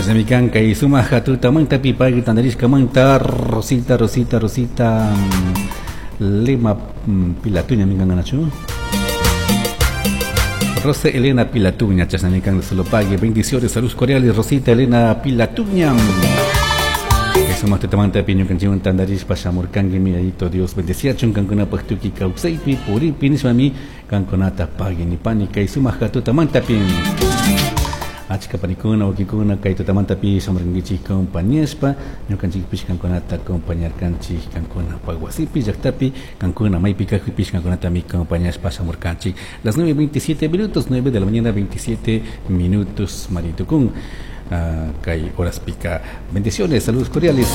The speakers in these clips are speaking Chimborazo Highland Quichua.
Chashnami kay sumak tutamantapi pagui tantarishkamanta Rosita, Rosita, Rosita Lema Pilatuña minkanganachu. Rosa Elena Pilatuña, chashnami kan solo pague. Bendiciones, saludos cordiales, Rosita Elena Pilatuña. Sumak tutamantapi ñukanchikwan tantarishpa shamurkanki yayito Dios bendeciachun kankunapaq tukuy kawsaypi puripi nishpami kankunata pagui nipani kay sumak tutamantapi. Achka panikuna wawkikuna kay tutamantapi shamurkankichik compañashpa ñukanchikpish kankunata acompañarkanchik kankunapaq wasipi llaktapi kankuna maypi kajpipish kankunatami acompañashpa shamurkanchik. Las 9:27 minutos, 9 de la mañana 27 minutos, Maritukun. Kay horaspika. Bendiciones, saludos cordiales.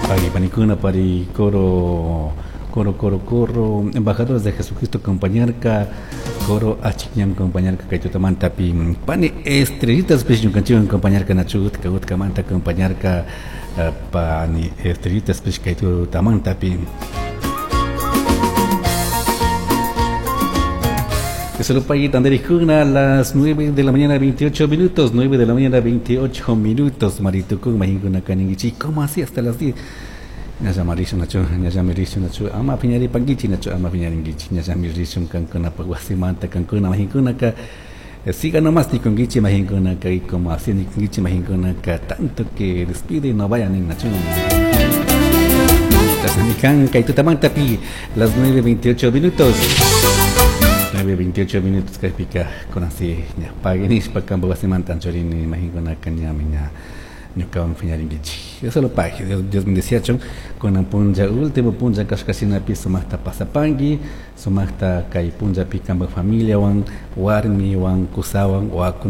Pagui panikuna pari coro coro coro coro embajadores de Jesucristo acompañarka coro achikñan acompañarka kay tutamantapi pani estrellitas pish ñukanchikwan acompañarka nachu utka utkamanta acompañarka pani estrellitas pish kay tutamantapi. Solo Tandarijuna a las 9 de la mañana 28 minutos, 9 de la mañana 28 minutos, Maritucún, Majinkuna Kaningichi, ¿cómo así hasta las 10? Ñallamarishun nachu, ñallamirishun nachu, ama piñaripankichi nachu, ama piñarinkichi, ñallamirishun kankuna wasimanta, kankuna majinkunaka, siga nomás nikunkichi majinkunaka, y como así nikunkichi majinkunaka, tanto que despide y no vayan en nachu. Chasnamikan, kay tutamantapi, las 9:28 minutos. 9:28 minutos kaypika kunansi ña paguinishpa kampa wasimanta anchorini majinkunaka ñami ña ñukawan piñarinkichik. Eso lo pague, Dios, Dios bendeciachun kunan punlla último punlla kashkashinapi sumakta pasapanki, sumakta kay punllapi kampa familiawan, warmiwan, kusawan, wawakunawan.